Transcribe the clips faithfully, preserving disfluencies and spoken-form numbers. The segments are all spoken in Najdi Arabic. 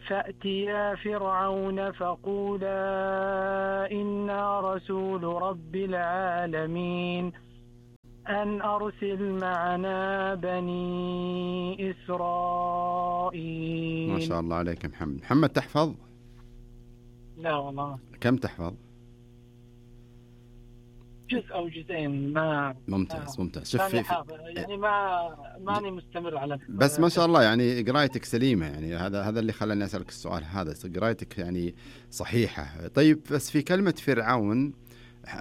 فأتيا فرعون فقولا إنا رسول رب العالمين أن أرسل معنا بني إسرائيل. ما شاء الله عليك محمد. محمد تحفظ؟ لا والله. كم تحفظ؟ جزء أو جزئين. ما ممتاز ممتاز. شوف في يعني ما ماني مستمر على بس ما شاء الله يعني قرايتك سليمة، يعني هذا هذا اللي خلاني أسألك السؤال هذا، قرايتك يعني صحيحة. طيب بس في كلمة فرعون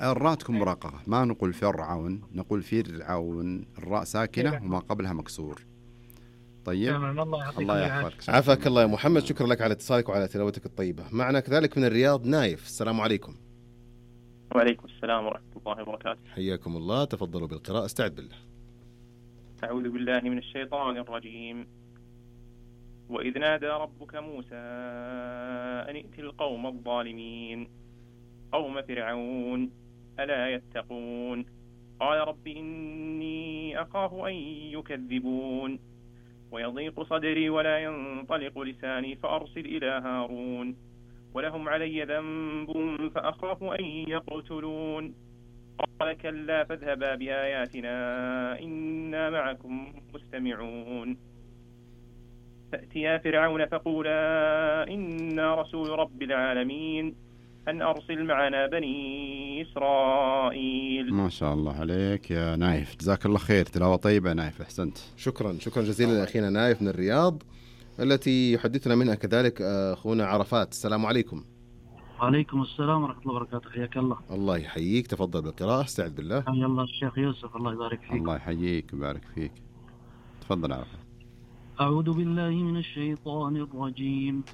الراء تكون مرققة، ما نقول فرعون، نقول فرعون، الراء ساكنة وما قبلها مكسور. طيب الله, الله يحفظك. عافاك الله يا محمد، شكرا لك على اتصالك وعلى تلاوتك الطيبة. معنا كذلك من الرياض نايف. السلام عليكم. وعليكم السلام ورحمة الله وبركاته. حياكم الله، تفضلوا بالقراءة. استعد بالله. أعوذ بالله من الشيطان الرجيم. وإذ نادى ربك موسى أن ائت القوم الظالمين قوم فرعون ألا يتقون قال رب إني أخاف أن يكذبون ويضيق صدري ولا ينطلق لساني فأرسل إلى هارون ولهم علي ذنب فأخاف أن يقتلون قال كلا فاذهبا بآياتنا إنا معكم مستمعون فأتيا فرعون فقولا إنا رسول رب العالمين أن أرسل معنا بني إسرائيل. ما شاء الله عليك يا نايف، جزاك الله خير، تلاوة طيبة نايف، أحسنت. شكرا شكرا جزيلا لأخينا نايف من الرياض التي يحدثنا منها كذلك أخونا عرفات. السلام عليكم. وعليكم السلام ورحمة الله وبركاته. حياك الله. الله يحييك، تفضل بالقراءة. استعد بالله. حيا الله الشيخ يوسف، الله يبارك فيك. الله يحييك ويبارك فيك. تفضل عرفات. أعوذ بالله من الشيطان الرجيم.